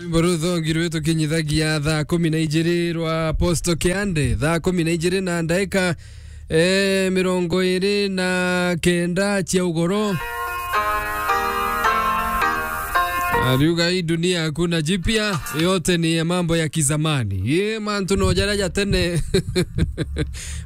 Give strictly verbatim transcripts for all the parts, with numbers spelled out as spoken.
Rwimbo ruthogi rwitu kinyithagia thaa kumi na ijiri rwa Apostle Kiande, thaa kumi na ijiri na ndaika, eh, mirongo iri na kenda cia ugoro. Ariuga, "Hii dunia hakuna jipya, yote ni ya mambo ya kizamani." Ye mantu no jaria ja tene.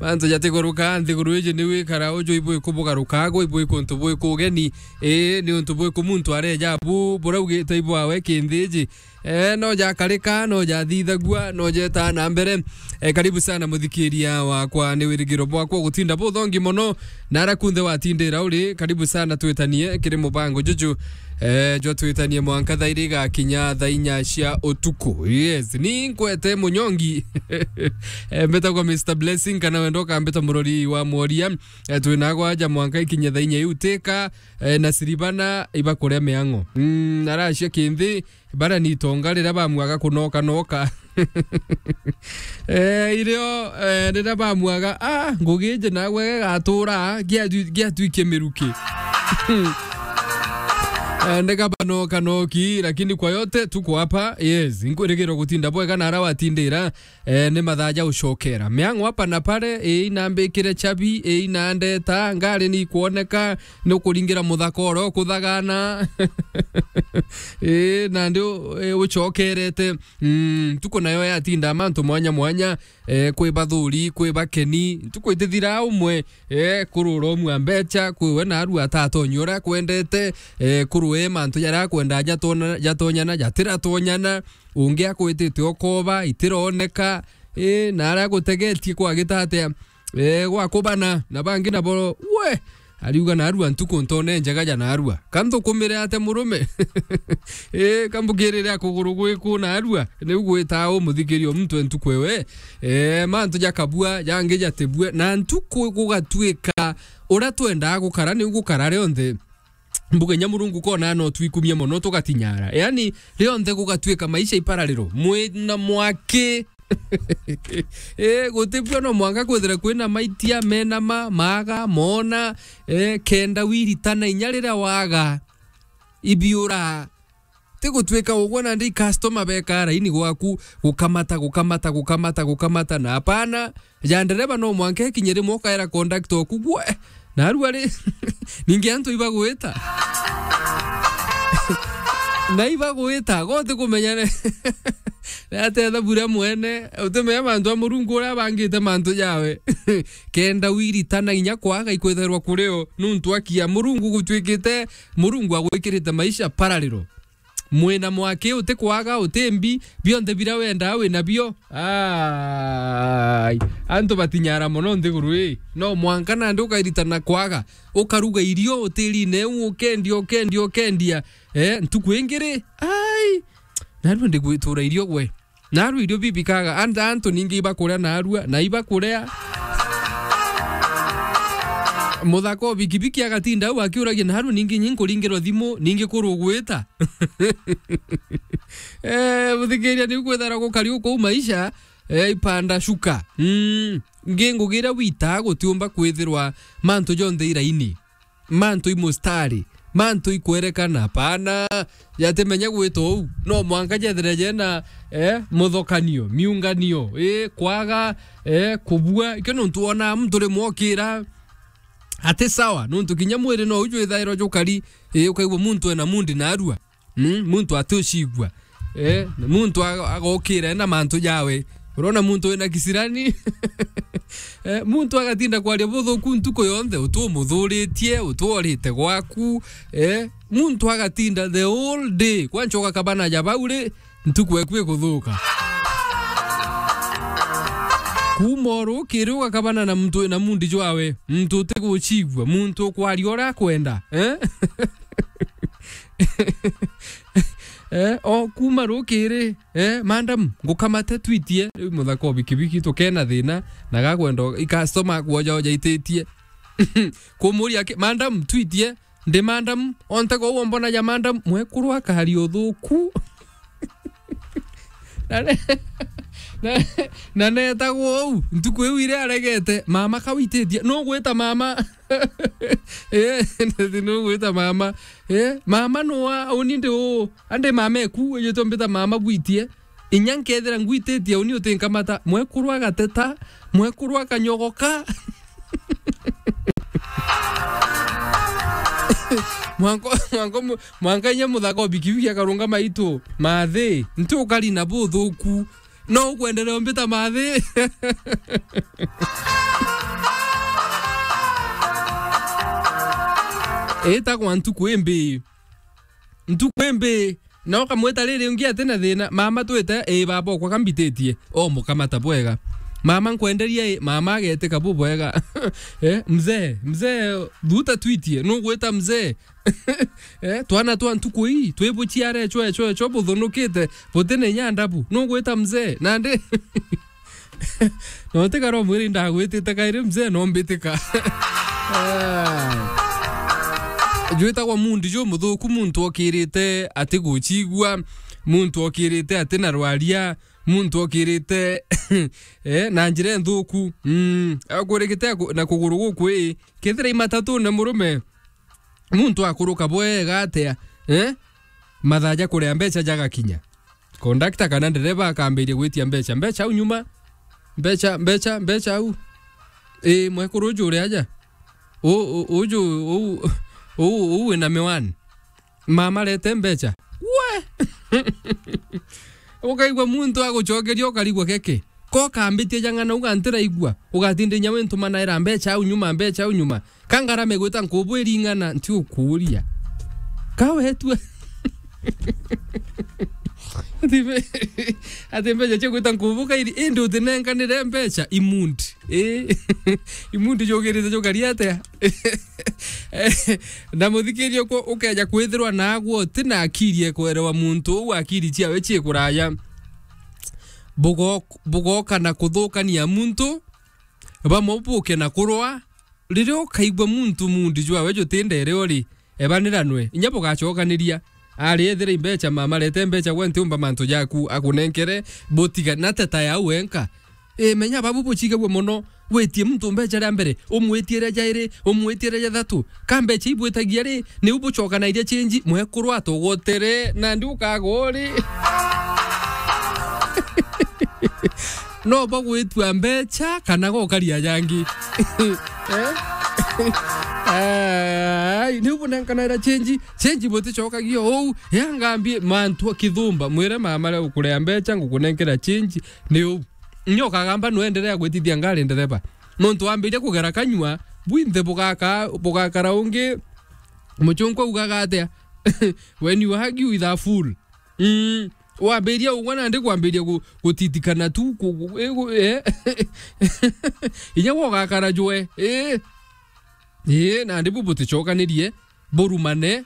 Mantu jatiguruka nthiguru iji ni wikara uju ibwi kubugaruka, agwe ibwi kuntu bwi kugeni. Ii, ni untu bwiku muntu areja bu buraugite ibwawe kinthiji? Eh, no jakarika, no jathithagua, no jetaa na mbere. Eh, karibu sana muthikiria wakwa, ni wirigiro bwakwa gutinda buthongi mono. Na ara kunthe watindira uri, karibu sana twitanie kiri mubango juju. Eh, jwa twitanie mwanka thaa iri igakinya thaa inya cia utuku. Yes, ni nkwete munyongi. Eh, mbetagwa Mister Blessing, kana wenda ukambeta murori wa mworia. Eh, twinagwa aja mwanka ikinye thaa inya iu tika. Eh, na siribana ibakuria miang'o. Mm, aracia kinthi, bara ni itonga riria bamwaga kunoka noka. Eh, irio, eh, riria bamwaga, ah, ngugi iji nagwe gagatura, giatwi-, giatwikie miruki. Eh, ndega banoka noki, lakini kwa yote tuko hapa, yes, nkwirigirwa gutinda bwega na ara watindira, eh, ni mathaa ja ucokera. Miang'o hapa na pale, ii, inambikire chabi, ii, inandeta, ngari ni ikwoneka, ni ukuringira muthaka oro kuthagana. Ii, nandi u-, ii, ucokerete. Mm, ntuku nayo yatinda mantu mwanya mwanya, eh, kwi bathuri, kwi bakeni. Ntuku itithira umwe, eh, kurura umwe a mbecha, kwi we na arua atatonyia uria akwendete, eh, kurue mantu jaria akwenda jatona-, jatonyana, jatiratonyana. Ungi akwitite okoba, itironeka, ii, na aria agutegetie kwagita atia, ee, gwakubana, na bangi nabo, we, ariuga, "Narua ntuku ntone njega ja narua. Ka nthukumire atia murume?" Ii, ka mbukirire a kuguru gwiku narua? Niu gwitaa umuthikiria muntu e ntuku ewe. Ee, mantu jakabua, jangi jatibue, na ntuku gugatuika uria twendaa gukara, niu gukara rionthe. Mbuge nya Murungu kona no twikumie mono tugatinyara. Yaani, rionthe gugatuika maisha iparariro. Mwina mwaki. Ee, gutibua no mwanka kwithira kwina maitia, menama, maaga, moona, ee, kenda wiritana inya riria waaga, ibiura. Ti gutuika ugwe nandi customer beka raini gwaku, gukamata, gukamata, gukamata, gukamata, na hapana, ja ndereba no mwanka ikinye rimwe ukaera conductor oku, "Gwe, narua ri?" Ningi antu ibagwita. Na ibagwita, go utikumenya ne-, ni atia ithabu ria mwene, utimenya mantu a Murungu uria abangite mantu jawe. Kenda wiritana inya kwaga ikwithairwa kurio, nuntu akia Murungu gutwikite, Murungu agwikirite maisha parariro. Mwina mwaki, utikwaga, utimbi, bionthe biria wendaa wina bio. Ai, antu batinyara mono nthiguru ii. No mwanka nandi ukairitana kwaga, ukaruga irio utirine u, ukendia, ukendia, ukendia. Eh, ntuku ingi ri? Ai, narua ndigwitura irio gwe. Narua irio bibikaga, anta antu ningi ibakuria narua, na ibakuria. Muthaka o bikibiki agatinda au akiuragia, "Narua ningi nyi nkuringirwa thimu, ningi kurugwita?" Eh, muthikiria, niu kwithara gukari uku maisha, eh, ipanda shuka. Mm, ngi ngugi iria witaa gutiumba kwithirwa mantu jonthe iraini. Mantu i mustari, mantu i kwerekana, hapana, jatimenya gwita uu. No mwanka jethire jena, eh, muthokanio, miunganio, eh, kwaga, eh, kubua. Ikio nuntu wonaa muntu rimwe okira ati sawa, nuntu kinya mwiri no ujwithairwa jukari, eh, ukaigua muntu ena mundi narua. Mm, muntu ati ucigua. Eh, na muntu aga-, agokira ena mantu jawe. Urona muntu wina kisirani? Eh, muntu agatinda kwaria buthuku ntuku yonthe, utu umuthuritie, utu orite gwaku. Eh, muntu agatinda the whole day. Kwancha ugakabana ja bau ri, ntuku eku ikuthuka. Kuma urukiri ugakabana na muntu wina mundi jwawe, muntu utigucigua, muntu ukwaria uria akwenda. Eh? Eh, o kuma rukiri, eh, "Madam, ngukamate twitie." Riu muthaka o bikibiki tukena thina, na gakwenda i customer akwoja oja ititie. Kumuria ki, "Madam, twitie." "Ndi madam, onthe ko uo mbona ja madam?" Mwekuru akari uthuku. Na re-, Na, na netagwo uu, ntuku iu iria aregete, mama kawititie, nugwita mama? Eh, nugwita mama? Eh, mama nuwa, uni ndi uu, andi mama eku, ejitwe mbita mama gwitie. Inya nkethira ngwititie uni utinkamata, mwekuru agateta, mwekuru akanyogoka. Mwanka, mwanka mu-, mwanka inya muthaka o bikibiki akarungama itu, mathi, nti ukari na buthuku, no ukwenderea umbita mathi. Itagwa ntuku imbi. Ntuku imbi, na ukamwita riri ungi ati na thina, mama twite, ii baba okwa kambititie, o mukamata bwega. Mama nkwenderia ii, mama agetika bubwega. Eh, mzee, mzee, thuta twitie, nugwita mzee? Eh, twana twa ntuku ii, twi buciare chwe, chwe, chwe buthunukite, buti na inya ndabu, nugwita mzee? Nandi, no ntikara umwiri ndagwitite kairi mzee, no mbitika. Ah. Jwitagwa mundi jumuthuku, muntu okirite atigucigua, muntu okirite ati na rwaria, muntu okirite, eh, na njira nthuku. Mm, akurikite aku-, na kuguru guku ii, kethira i matatune murume, muntu akuruka bwega atia, eh? Mathaa ja kuria mbecha jagakinya. Kondakta kana ndereba akambiria gwitia mbecha. Mbecha au nyuma. Mbecha, mbecha, mbecha au. Ii, mwekuru uju uri aja. U-, u-, uju, u-, u-, u-, wina miwani. Mama, rete mbecha. We! Ukaigua muntu agucokeria, ukarigwa geke. Ko kambitie jang'ana, ugantiraigua. Ugatinda inya wintumanaira mbecha au nyuma, mbecha au nyuma. Ka ngarame gwita nkubu iring'ana, nti ukuria. Ka wetue. Ati mbe-, ati mbecha cia gwita nkubu kairi, indi utinenkanire mbecha, imundi. Ii. Imundi jugirite jukari atia? Na muthikiria uko ukeja kwithirwa nagwe uti na akiri ekwerewa muntu uu akiri ciawe cii kuraya. Bugo-, bugoka na kuthukania muntu, bamwe buke na kurwa. Riria ukaigua muntu mundi jwawe jutindere uri, ebaniranwe, inya bugacokaniria. Ari ethira i mbecha, mama, rete mbecha, gwe ntiumba mantu jaku akunenkere, butiga na teta yau wenka. Ii, menya babu bucigagua mono, witie muntu mbecha ria mbere, umwitie ria jairi, umwitie ria jathatu. Ka mbecha ibwitagia ri, niu bucokanairia change, mwekuru atogotere, nandi ukagwa uri. No bagwitua mbecha kana gokaria jangi. Eh? Ai, niu bunenkanaira change, change buticokagia ou. Ya ngambie mantu akithumba, mwire mama ria ukurea mbecha, ngukunenkera change, niu. Nyo kagamba nuenderea gwitithia ngari ndereba. Nontu wambiria kugera kanyua, bwinthe bugaka-, bugakara ungi, muchunku augaga atia? When you hug you with a fool. Mm. Wambiria ugwe nandi kwambiria gu-, gutitikana tu, ku-, gu-, eh, gu-, eh. Inya gwe ugakara jwe, eh. Eh, nandi bu buticokanirie, burumane,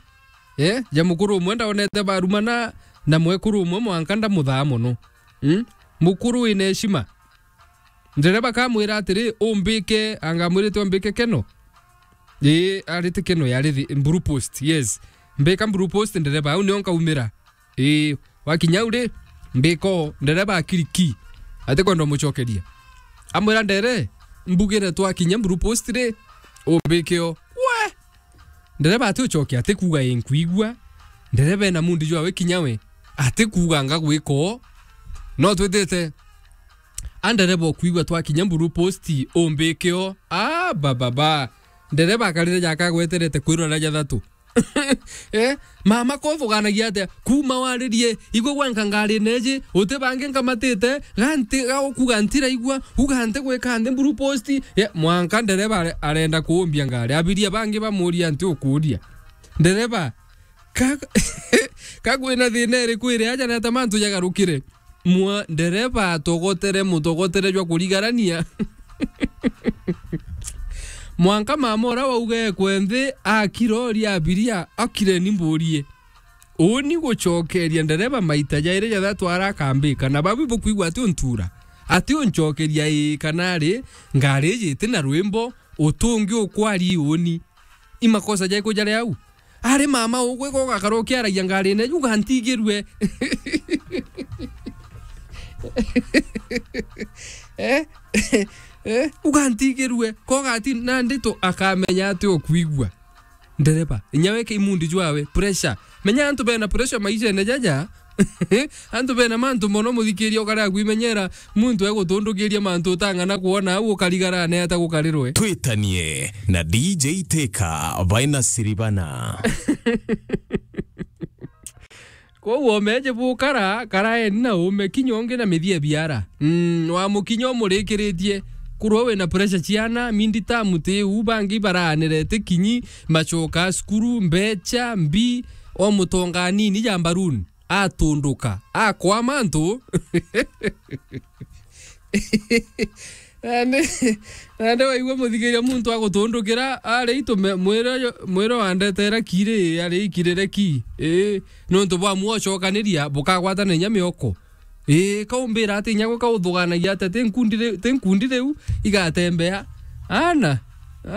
eh, ja mukuru umwe ndaonete barumana na mwekuru umwe mwanka ndamuthaa mono. Mm? Mukuru wina heshima. Ndereba kamwira atiri, umbike, anga amwirite umbike keno. Ii, arite keno yari thi-, Blue Post, yes. Mbika Blue Post, ndereba, au nio nkaumira. Ii, wakinya au ri, mbika o, ndereba akiri ki. Atikwenda umucokeria. Amwira ndere, mbugire twakinya Blue Post ri, umbike o. We! Ndereba ati ucoke, ati kuuga ii nkwigua. Ndereba ena mundi jwawe kinya we. Ati kuuga nga gwika o. No twithite. A ndereba ukwigua twakinya Blue Post, umbike o. Ah, ba, ba, ba. Ndereba akarire jakagweterete kwirora jathatu. Eh, mama kothuganagia atia? Kuma waririe, igwe gwanka ngari neji, uti bangi nkamatite, ganti, ga ukuga ntiraigua, uga nti gwika nthi Blue Post. Ye, mwanka ndereba are-, arenda kuumbia ngari. Abiria bangi bamuria nti ukuria. Ndereba, ka, ka kwina thina iriku iri aja na ta mantu jagarukire? Mwa-, ndereba atogotere mutogotere jwa kurigarania. Mwanka mama uria wauga ekwe nthi, akira uria abiria, akire ni mburie. Uni gucokeria ndereba maita jairi jathatu arakambika, na babu bukwigua ati untura. Ati uncokeria ii kana ari, ngari iji iti na rwimbo, utungi ukwari uni. I makosa jaiku jari au? Ari mama ugwe gogakara ukiaragia ngarine, uga ntigirue. antigirue, ko gati nandi tu akamenya ati ukwigua. Ndereba, inya we kimundi jwawe, pressure. Menya antu bena pressure maishene jaja. Antu bena mantu mono, muthikiria, ukarea kwimenyera, muntu egutundukiria mantu utang'ana kwona, au ukarigara neeta gukarirwe. Twitanie na D J Teka, Vaina Siribana. Kwou omeje bukara, karaeni na ume kinya ungi na mithie biara. Mm, wa mukinya umurikiritie. Kurwa wina pressure ciana, mindi ta muti u bangi baraanire ti kinyi, macoka cukuru, mbecha, mbi, o mutonga anini ja mbaruni, atunduka, akwama antu. Nandi, nandi waigua muthikiria muntu agutundukira, ari itu me-, mwire uyu, mwire wandetera ki ri, ari ikirire ki? Ii, nontu bwa mwocokaniria, bukagwatana inya mioko. Ii, kaumbira ati inya gwe kauthuganagia ati ti nkundi ri-, ti nkundi riu igatembea. Ana,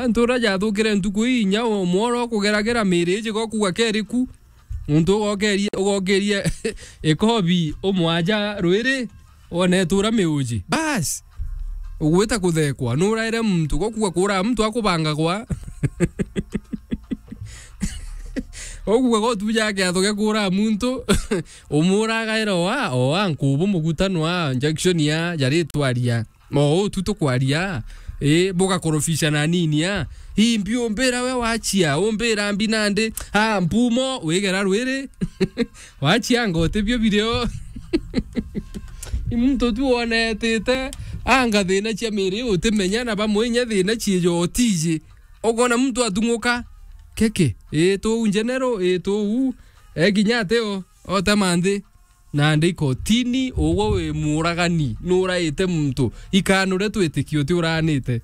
antu uria jathukire ntuku ii inya o-, mworo kugeragira miri iji gokuga keriku. Muntu ugokeria, ugokeria ikobi umwaja rwiri, wone tura miuji. Bas! Ugwita kuthekwa, nuraire muntu, gokuga kura muntu akubangagwa. Gokuga gotuja kiatho gia kura muntu, umuragaira oa, oa nkubu mugutano a injection ya, jaritwaria. O uu tu tukwaria, ii, bugakorofisha na nini a? Ii, mbi umbira we wachia, umbira mbi nandi, a, mpumo, wigera rwiri. Wachia anga utibio birio. I muntu tu wonetite, anga thina cia miri utimenya, na bamwe inya thina ciejo utiji. Ukona muntu atung'uka, keke, ii, tuu njenero, ii, tuu, ekinya ateo, otema nthi. Nandi ikotini, ugwe wi muragani, nuraite muntu. Ikanure twitikio uti uraanite.